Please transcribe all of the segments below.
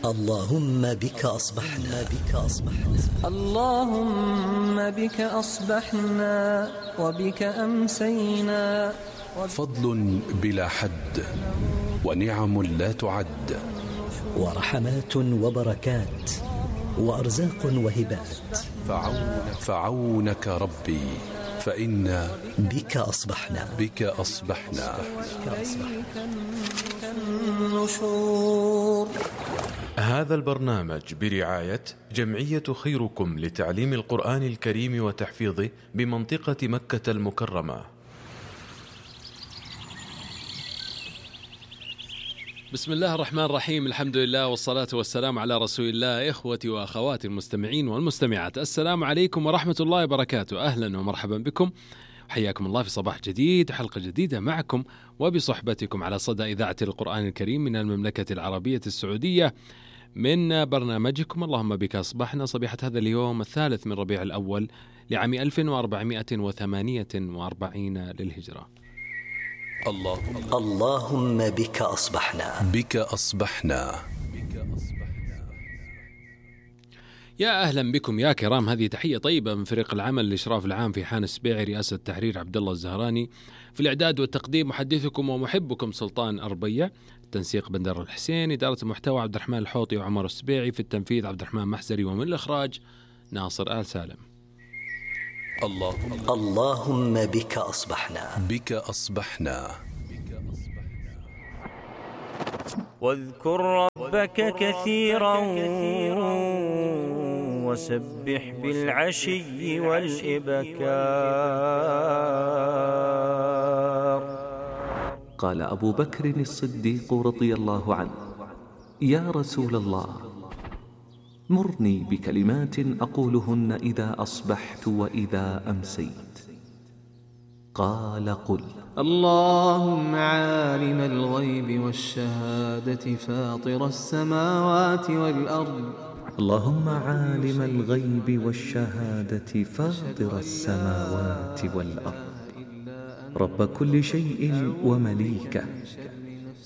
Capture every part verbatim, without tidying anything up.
اللهم بك أصبحنا بك أصبحنا اللهم بك أصبحنا وبك أمسينا. فضل بلا حد ونعم لا تعد ورحمات وبركات وأرزاق وهبات فعون فعونك ربي فإنا بك أصبحنا بك أصبحنا النشور. هذا البرنامج برعاية جمعية خيركم لتعليم القرآن الكريم وتحفيظه بمنطقة مكة المكرمة. بسم الله الرحمن الرحيم، الحمد لله والصلاة والسلام على رسول الله. إخوتي وأخواتي المستمعين والمستمعات، السلام عليكم ورحمة الله وبركاته. أهلا ومرحبا بكم، حياكم الله في صباح جديد، حلقة جديدة معكم وبصحبتكم على صدى إذاعة القرآن الكريم من المملكة العربية السعودية، من برنامجكم اللهم بك أصبحنا، صبيحة هذا اليوم الثالث من ربيع الأول لعام ألف وأربعمائة وثمانية وأربعين للهجرة. اللهم اللهم بك أصبحنا بك أصبحنا. يا أهلا بكم يا كرام، هذه تحية طيبة من فريق العمل الإشراف العام في حان السبيعي، رئاسة التحرير عبد الله الزهراني، في الإعداد والتقديم محدثكم ومحبكم سلطان أربيع، تنسيق بندر الحسين، إدارة المحتوى عبد الرحمن الحوطي وعمر السبيعي، في التنفيذ عبد الرحمن محزري، ومن الإخراج ناصر آل سالم. اللهم اللهم بك أصبحنا بك أصبحنا. واذكر ربك كثيرا وسبح بالعشي والإبكار. قال أبو بكر الصديق رضي الله عنه: يا رسول الله، مرني بكلمات أقولهن إذا أصبحت وإذا أمسيت. قال: قل: اللهم عالم الغيب والشهادة فاطر السماوات والأرض اللهم عالم الغيب والشهادة فاطر السماوات والأرض، رب كل شيء ومليكه،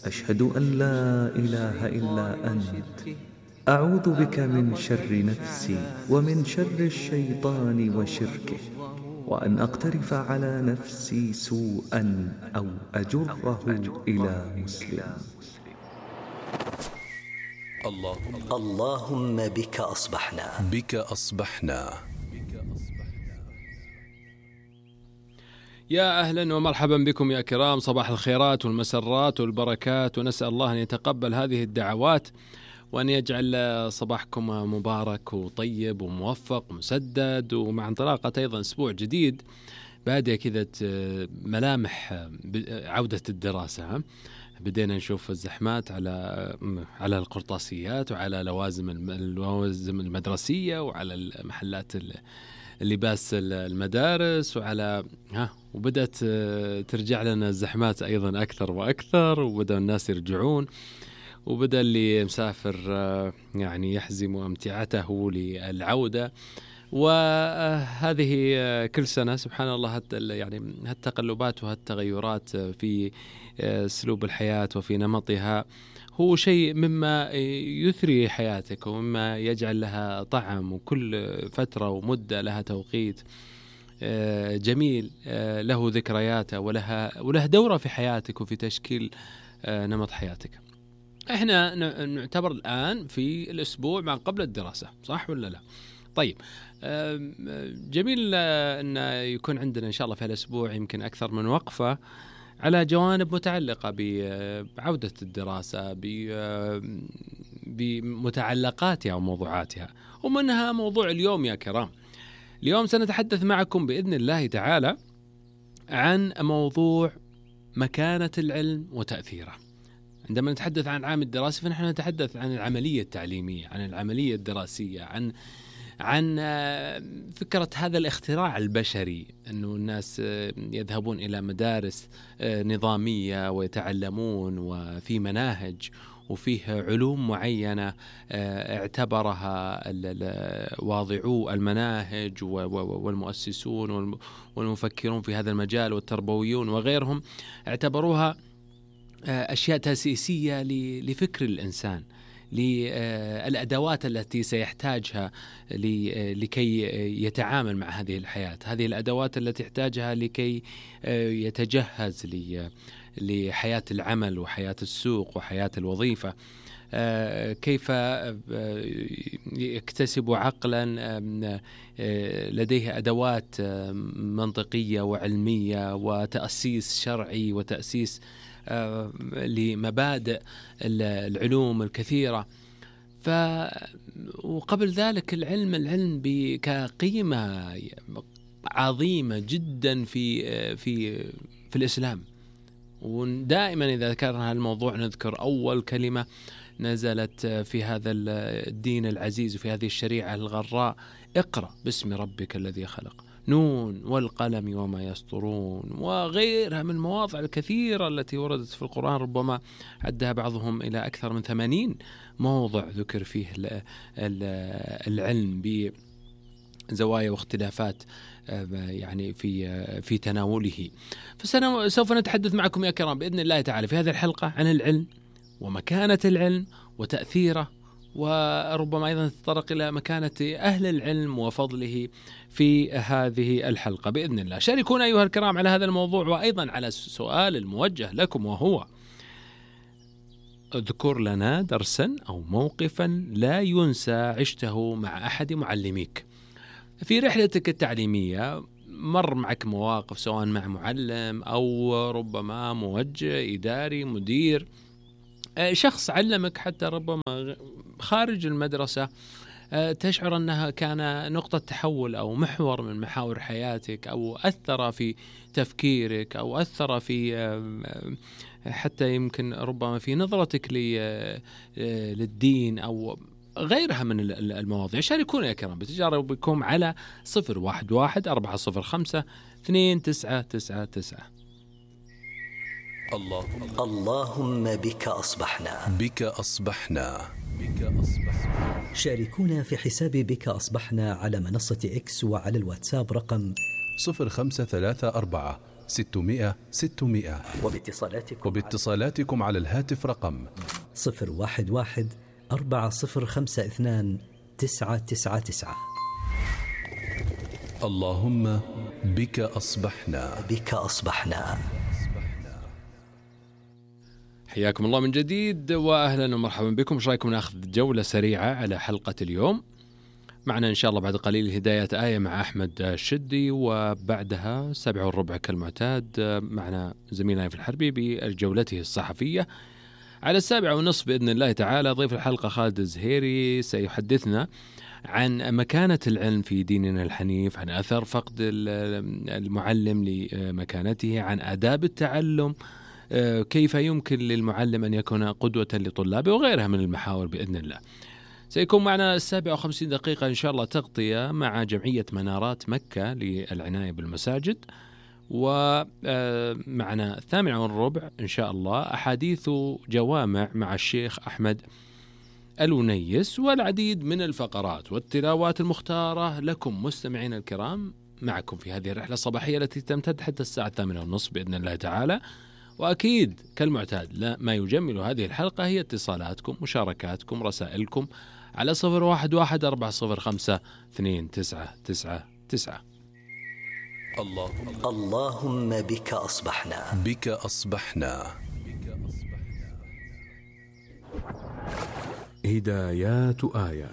أشهد أن لا إله إلا أنت، أعوذ بك من شر نفسي ومن شر الشيطان وشركه، وأن أقترف على نفسي سوءا أو أجره إلى مسلم. اللهم اللهم بك أصبحنا بك أصبحنا. يا أهلا ومرحبا بكم يا كرام، صباح الخيرات والمسرات والبركات، ونسأل الله أن يتقبل هذه الدعوات وأن يجعل صباحكم مبارك وطيب وموفق ومسدد، ومع انطلاقة أيضا أسبوع جديد بادئ كذا ملامح عودة الدراسة. بدينا نشوف الزحمات على على القرطاسيات وعلى لوازم اللوازم المدرسية وعلى محلات اللباس المدارس وعلى ها وبدأت ترجع لنا الزحمات أيضا أكثر وأكثر، وبدأ الناس يرجعون، وبدأ اللي مسافر يعني يحزم أمتعته للعودة. وهذه كل سنة سبحان الله يعني هالتقلبات وهالتغيرات في أسلوب الحياة وفي نمطها هو شيء مما يثري حياتك ومما يجعل لها طعم، وكل فترة ومدة لها توقيت جميل له ذكرياته ولها وله دورة في حياتك وفي تشكيل نمط حياتك. احنا نعتبر الآن في الأسبوع ما قبل الدراسة، صح ولا لا؟ طيب، جميل أن يكون عندنا إن شاء الله في الأسبوع يمكن أكثر من وقفة على جوانب متعلقة بعودة الدراسة، بمتعلقاتها وموضوعاتها، ومنها موضوع اليوم يا كرام. اليوم سنتحدث معكم بإذن الله تعالى عن موضوع مكانة العلم وتأثيره. عندما نتحدث عن العام الدراسي فنحن نتحدث عن العملية التعليمية، عن العملية الدراسية، عن عن فكرة هذا الاختراع البشري، أنه الناس يذهبون إلى مدارس نظامية ويتعلمون وفي مناهج وفيه علوم معينة اعتبرها واضعو المناهج والمؤسسون والمفكرون في هذا المجال والتربويون وغيرهم اعتبروها أشياء تأسيسية لفكر الإنسان، للأدوات التي سيحتاجها لكي يتعامل مع هذه الحياة، هذه الأدوات التي يحتاجها لكي يتجهز لحياة العمل وحياة السوق وحياة الوظيفة، كيف يكتسب عقلا لديه أدوات منطقية وعلمية وتأسيس شرعي وتأسيس لمبادئ العلوم الكثيرة. ف وقبل ذلك العلم العلم كقيمة عظيمة جدا في في في الإسلام. ودائما إذا ذكرنا الموضوع نذكر أول كلمة نزلت في هذا الدين العزيز وفي هذه الشريعة الغراء: اقرأ باسم ربك الذي خلق، نون والقلم وما يسطرون، وغيرها من المواضع الكثيرة التي وردت في القرآن، ربما عدها بعضهم إلى أكثر من ثمانين موضع ذكر فيه العلم بزوايا واختلافات يعني في في تناوله. فسوف نتحدث معكم يا كرام بإذن الله تعالى في هذه الحلقة عن العلم ومكانة العلم وتأثيره، وربما أيضا نتطرق إلى مكانة أهل العلم وفضله في هذه الحلقة بإذن الله. شاركونا أيها الكرام على هذا الموضوع، وأيضا على السؤال الموجه لكم، وهو: اذكر لنا درسا أو موقفا لا ينسى عشته مع أحد معلميك. في رحلتك التعليمية مر معك مواقف سواء مع معلم أو ربما موجه إداري مدير، شخص علمك حتى ربما خارج المدرسة، تشعر أنها كان نقطة تحول أو محور من محاور حياتك، أو أثر في تفكيرك، أو أثر في حتى يمكن ربما في نظرتك للدين أو غيرها من المواضيع. شاركونا يا كرام بتجاربكم على صفر واحد واحد أربعة صفر خمسة اثنين تسعة تسعة تسعة. الله اللهم بك أصبحنا بك أصبحنا بك أصبحنا. شاركونا في حساب بك أصبحنا على منصة إكس وعلى الواتساب رقم صفر خمسة ثلاثة أربعة ستمائة ستمائة، وباتصالاتكم وباتصالاتكم على الهاتف رقم صفر واحد واحد أربعة صفر خمسة اثنان تسعة تسعة تسعة. اللهم بك أصبحنا بك أصبحنا. حياكم الله من جديد وأهلا ومرحبا بكم. ايش رايكم ناخذ جولة سريعة على حلقة اليوم؟ معنا إن شاء الله بعد قليل هداية آية مع أحمد الشدي، وبعدها سبع والربع كالمعتاد معنا زميلنا في الحربي بجولته الصحفية. على السابعة ونصف بإذن الله تعالى ضيف الحلقة خالد الزهيري سيحدثنا عن مكانة العلم في ديننا الحنيف، عن أثر فقد المعلم لمكانته، عن آداب التعلم، كيف يمكن للمعلم أن يكون قدوة لطلابه، وغيرها من المحاور بإذن الله. سيكون معنا السابعة وخمسين دقيقة إن شاء الله تغطية مع جمعية منارات مكة للعناية بالمساجد، ومعنا الثامنة والربع إن شاء الله أحاديث جوامع مع الشيخ أحمد الونيس، والعديد من الفقرات والتلاوات المختارة لكم مستمعين الكرام معكم في هذه الرحلة الصباحية التي تمتد حتى الساعة الثامنة والنصف بإذن الله تعالى. وأكيد كالمعتاد لا ما يجمل هذه الحلقة هي اتصالاتكم، مشاركاتكم، رسائلكم على صفر واحد واحد أربعة صفر خمسة اثنين تسعة تسعة تسعة. الله اللهم بك أصبحنا بك أصبحنا. هدايات آية.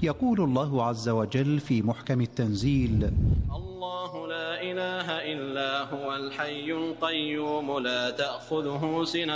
يقول الله عز وجل في محكم التنزيل: الله لا إله إلا هو الحي القيوم لا تأخذه سنة